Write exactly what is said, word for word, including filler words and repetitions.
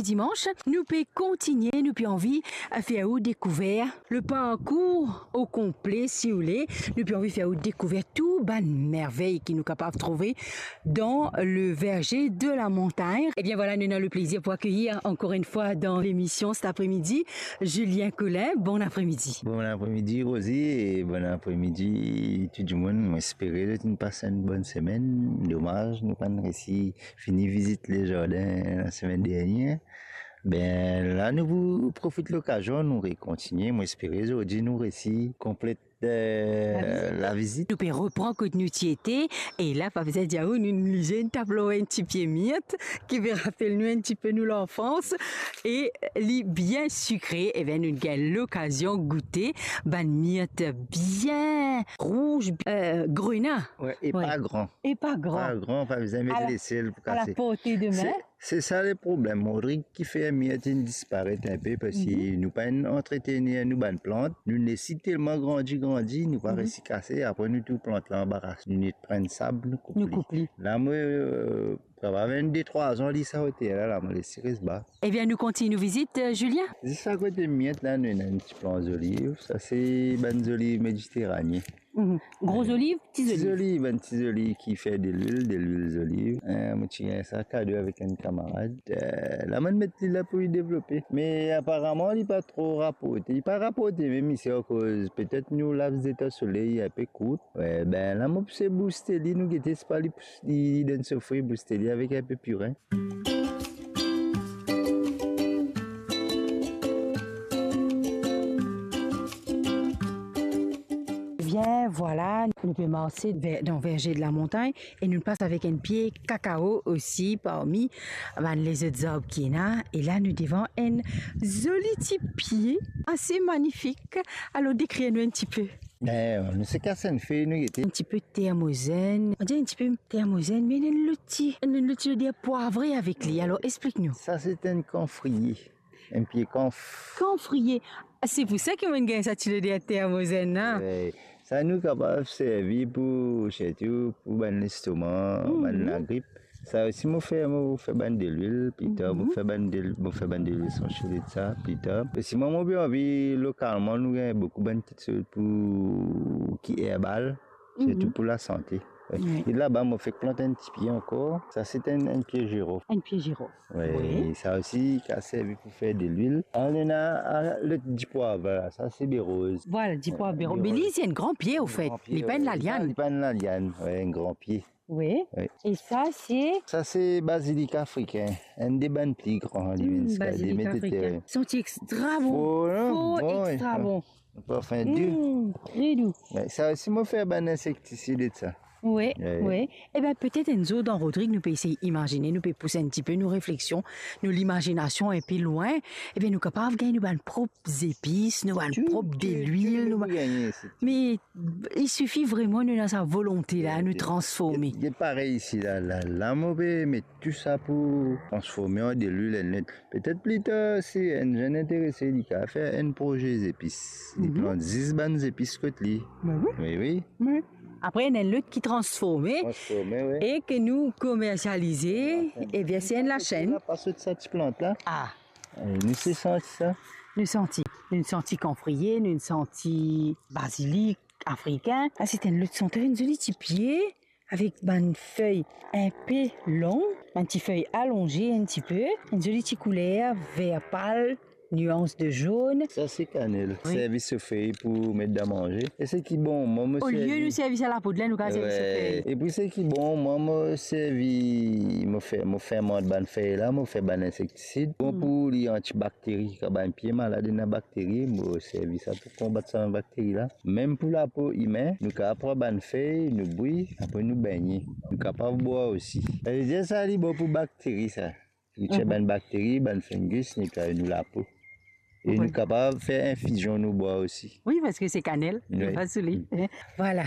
Dimanz, nou pe kontigne, nou pe anvi fer ou dekouver le parkour o konple, si oule. Nou pe anvi fer ou dekouver tou bann mervey ki nou kapav trouve dan le verze de la montagn. Ebien vwala, nou ena le plezir pou akeyir ankor enn fwa dan lemision set apremidi Julien Collin. Bon apremidi. Bon apremidi, Rosie, e bon apremidi tou dimoun. Mo espere zot inn pas enn bonn semenn. Domaz, nou pa'nn resi fini vizit le zardin lasemenn dernie. Be, la nou pou profit lokazion, nou rekontigne. Mo espere zordi nou resi konplet, eh, lavizit. Nou pe repran kot nou ti ete, e la, pa bizin dir ou, nou, nou lizin tap lor enn ti pie mirt, ki pe rapel nou enn tipe nou lanfans, e li bien sikre. Ebien, nou gagn lokazion goute bann mirt bien rouz, eh, grena. Wi, e pa gran. E pa gran. Pa gran, pa bizin met lesel pou kase. A la porte de min. Se, se sa le problem. Rodrig ki fer mirt inn disparet enpe, parski nou pa'nn antretenir nou bann plant. Nou les li telman grandi, grandi, nou pa resi kase, apre nou tou plant la anba ras. Nou net pran sab, nou koup li. La, mo, eh, kapav enn de trwa an li sa oter la, la, mo les li res ba. Ebien, nou kontign nou vizit, eh, Julien? Zis akote mirt la, nou ena enn ti plan zoliv. Sa se bann zoliv Mediterane. Gro zoliv, ti zoliv? Ti zoliv, bann ti zoliv ki fer delwil, delwil zoliv. Eh, mo ti gagn sa kado avek enn kamarad. Eh, la, mo'nn met li la pou li devlope. Me aparaman, li pa tro raporte. Li pa raporte mem isi akoz petet nou laps de tan soley inpe kourt. Wi, be, la, mo pou se bouste li, nou gete, si pa li, li, li donn so fri, bouste li avek inpe pirin. Ebien, vwala, nou pe marse ver, dan verze de la montagn e nou pas avek enn pie kakao osi parmi bann lezot zarb ki ena. E la, nou devan enn zoli ti pie, ase manifik. Alor, dekrir nou enn tipe. Eh, nou se kas enn fey, nou gete. Enn tipe termozenn. On dirait enn tipe termozenn, me ena enn lot ti, ena enn lot ti loder pwavre avek li. Alor, explik nou. Sa se enn kanfriye. Enn pie kanf. Kanfriye. Ah, se pou sa ki mo'nn gagn sa ti loder termozenn la. Wi. Sa nou kapav servi pou, sirtou pou bann lestoma, bann lagrip. Sa osi mo fer, mo fer bann delwil, pli tar mo fer bann del-, mo fer bann delwil esansiel de sa, pli tar. E sinon, mo pe anvi, lokalman, nou gagn boukou bann kiksoz pou, ki erbal, sirtou pou lasante. Wi. E laba, mo fek plant enn ti pie ankor. Sa se enn, enn pie zirof. Enn pie zirof. Wi, sa osi, kapav servi pou fer delwil. Ena, ah, lot dipwav la, sa se beroz. Vwala, dipwav beroz. Beroz. Me li, se enn gran pie, anfet. Li pa enn laliann. Li pa enn laliann, wi, enn gran pie. Wi. Wi. E sa, se? Sa, se bazilik afrikin. Enn de bann pli gran, li, hmm, bazilik afrikin. Santi extra bon. For, non? For, bon, extra bon. Parfin dou. Mm, tre dou. Wi, sa osi, mo fer bann insektisid ek sa. Wi, wi. Ebien, petet enn zour dan Rodrig, nou pe esey imazine, nou pe pous enn tipe nou refleksion, nou limazinasion inpe lwin. Ebien, nou kapav gagn nou bann prop zepis, nou bann prop delwil, nou bann, me il suffit vraiment nou ena sa volonte la, nou transforme. Get, get parey isi la, la, la, mo pe met tou sa pou transforme an delwil enn lot. Petet pli tar, si enn zenn interese, li kapav fer enn proze zepis. Li plant zis bann zepis kot li. Be wi. Wi, wi. Wi. Apre, ena enn lot ki transforme. Transforme, wi. E ki nou komersialize. Ebien, se enn lasenn. La, pa sot sa ti plant la. Ah. Eh, nou se santi sa. Nou santi. Nou santi kanfriye, nou santi bazilik afrikin. Ah, se enn lot santi, enn zoli ti pie. Avek bann fey inpe long, bann ti fey alonze enn tipe, enn zoli ti kouler ver pal, nians de zonn. Sa se kanel. Wi. Servi so fey pou met dan manze. E seki bon, mwa mo servi. Olie nou servi sa lapo la, nou kapav servi so fey. Wi. E pou seki bon, mwa mo servi, mo fer, mo fermant bann fey la, mo fer bann insektisid. Bon pou li antibakteri, kan bann pie malad ena bakteri, mo servi sa pou konbat sa bann bakteri la. Mem pou lapo imin, nou kapav pran bann fey, nou bwi, apre nou begne. Nou kapav bwar osi. Savedir sa li bon pou bakteri sa. Pou tir bann bakteri, bann fungus, netway nou lapo. E nou kapav fer infizion nou bwar osi. Wi, parski se kanel, nou pa sou li. Vwala,